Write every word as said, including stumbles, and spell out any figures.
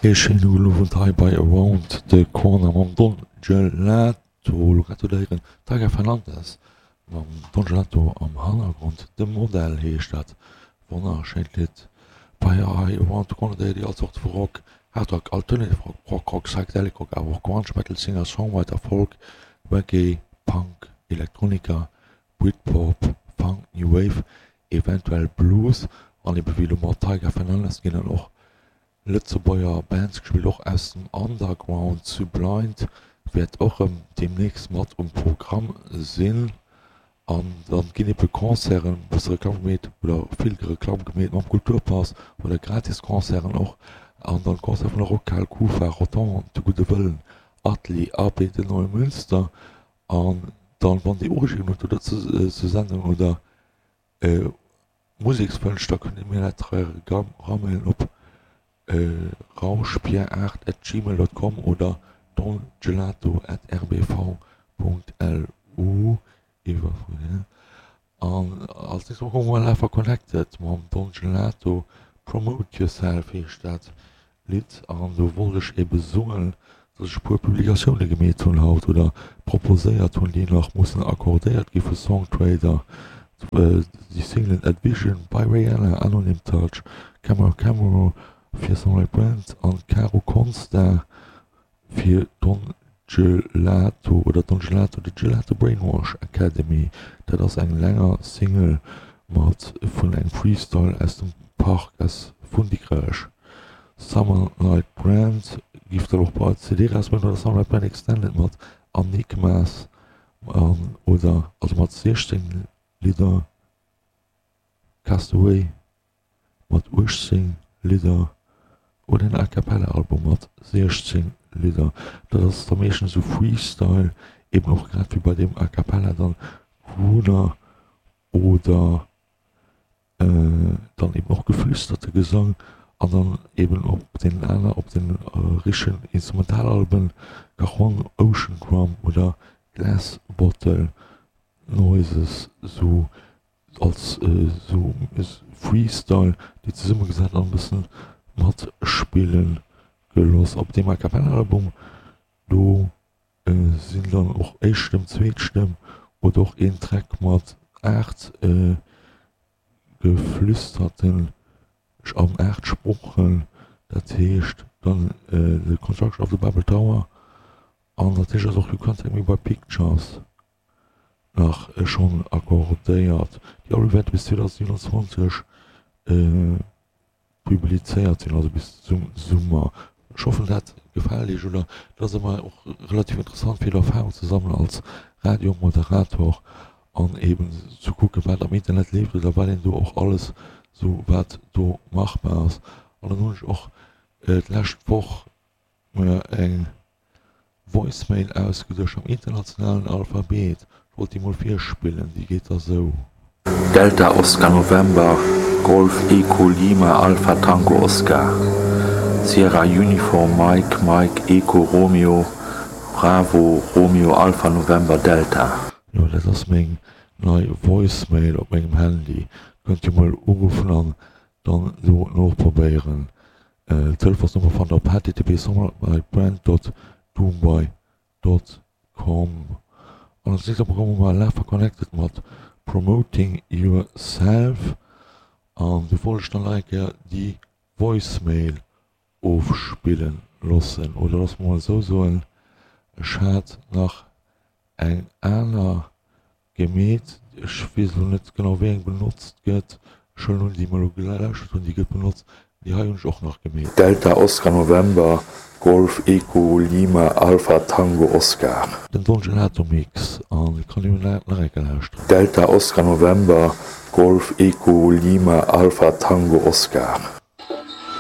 Ee schéine gudden Owend hei bei Around the Corner mam Don Gelato. Lo grad hutt der héieren Tiger Fernandez mam Don Gelato am Hannergrond. De Modell heescht dat wonnerschéint Lidd. Bei hei Around the Corner déi all Zort vu Rock, Hard Rock, Alternative Rock, Prog Rock, Psychedelic Rock, awer och Grunge, Metal, Singer, Songwriter, Folk, Reggae, Punk, Elektronika, Britpop, Funk, New Wave, eventuell Blues an ebe wéi elo mat Tiger Fernandez ginn dann och Lëtzebuerger Bands gespillt, och aus dem Underground. Sublind wäert och erëm deemnächst mat um Programm sinn. An dann ginn ebe Concerten, e bësse Reklamm gemeet oder vill Reklamm gemeet mam Kulturpass oder gratis Concerten och. An dann Concerte vun der Rockhal, Kufa, Rotongue, De Gudde Wëllen, Atelier A B de Neumünster. An dann, wann Dir Ureegungen hutt oder zur Sendung oder Musekswënsch, da kënnt Dir mir dat eramailen op rauschpierre aacht at gmail dot com oder dongelato at R B V Punkt L U. Iwwer An als nächst komme mer Live a Connected mam Don Gelato. Promote Yourself heescht dat Lidd. An do wollt ech ebe soen, dass ech e puer Publikatioune gemeet hunn haut oder proposéiert hunn, déi nach mussen accordéiert gi vu Songtrader. Déi Singlen Advision by Rihanna, Anonym Touch, Camera Camera fir Sunlight Brand an Caro Consta fir Don Gelato oder Don Gelato, The Gelato Brainwash Academy. Dat ass eng länger Single mat vun engem Freestyle aus dem Park aus vun Dikrech. Summer Night Brand giff dann och bei C D erausbréngen oder Summer Night Brand Extended mat Enigmas an oder also mat siechzéng Lidder, Castaway mat uechtzéng Lidder oder en A Cappella Album mat siechzéng Lidder. Dat ass da meeschtens esou Freestyle, eben och grad wéi bei deem A Cappella dann Crooner oder dann eben och geflüsterte Gesang an dann eben op den aner op den richtegen Instrumentalalben Cajon, Ocean Drum oder Glass Bottle Noises sou als sou Freestyle déi zesummegesat an e bëssen matspille gelooss. Op deem A Cappella Album do sinn dann och éischt Stëmm, zweet Stëmm oder och een Track mat aacht geflüsterten an aacht Sproochen, dat heescht dann The Construction of the Babel Tower an natierlech ass och You Can't Take Me By Pictures nach schonn accordéiert. Déi Albe wäerte bis zweedausendsiewenundzwanzeg publizéiert sinn, also bis zum Summer. Ech hoffen dat gefält iech oder dat ass ëmmer och relativ interessant fir Erfahrung ze sammelen als Radiomoderator an eben ze kucken wat am Internet leeft oder wat een do och alles sou wat do machbar ass. An dann hunn ech och d'lescht Woch mir eng Voicemail ausgeduecht am internationalen Alphabet. Ech wollt déi mol virspillen, déi geet da sou. Delta Oscar November Golf Echo Lima Alpha Tango Oscar Sierra Uniform Mike Mike Echo Romeo Bravo Romeo Alpha November Delta. Jo, dat ass meng nei Voicemail op mengem Handy. Kënnt dir mol uruffen an dann do noprobéieren. D'Telefonsnummer fannt der op H T T P summerbrand dot doomby dot com. An als nächst bekomme mer Love Connected mat Promoting Yourself. An do wollt ech dann nach eng Kéier déi Voicemail ofspillen loossen. Oder loosse mer mol esou soen, ech hat nach eng aner gemeet. Ech weess elo net genau wéi eng benotzt gëtt. Ech huelen un déi mer elo gelauschtert hunn, déi gëtt benotzt. Déi hei hunn ech och nach gemeet. Delta Oscar November Golf Echo Lima Alpha Tango Oscar. Den Don Gelato Mix an et kann een nach eng Kéier lauschteren. Delta Oscar November Golf Echo Lima Alpha Tango Oscar.